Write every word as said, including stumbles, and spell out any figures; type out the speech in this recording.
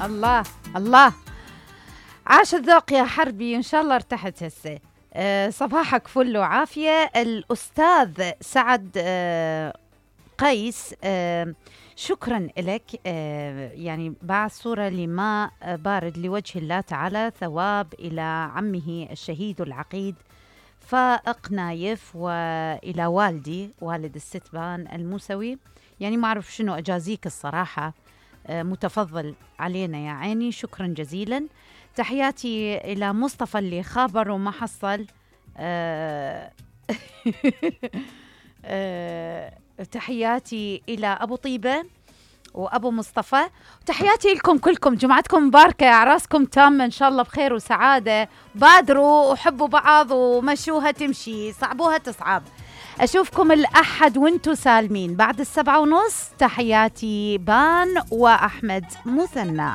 الله الله، عاش الذوق يا حربي، إن شاء الله ارتحت هسه. أه صباحك فل وعافية. الأستاذ سعد أه قيس، أه شكرا لك. أه يعني بعث صورة لماء بارد لوجه الله تعالى، ثواب إلى عمه الشهيد العقيد فائق نايف، وإلى والدي والد الستبان الموسوي. يعني ما أعرف شنو أجازيك الصراحة، أه متفضل علينا يا عيني، شكرا جزيلا. تحياتي إلى مصطفى اللي خابر وما حصل. أه أه تحياتي إلى أبو طيبة وأبو مصطفى، تحياتي لكم كلكم. جمعتكم مباركة، أعراسكم تامة إن شاء الله بخير وسعادة. بادروا وحبوا بعض ومشوها تمشي، صعبوها تصعب. أشوفكم الأحد وانتو سالمين بعد السبعة ونص. تحياتي بان وأحمد مثنى.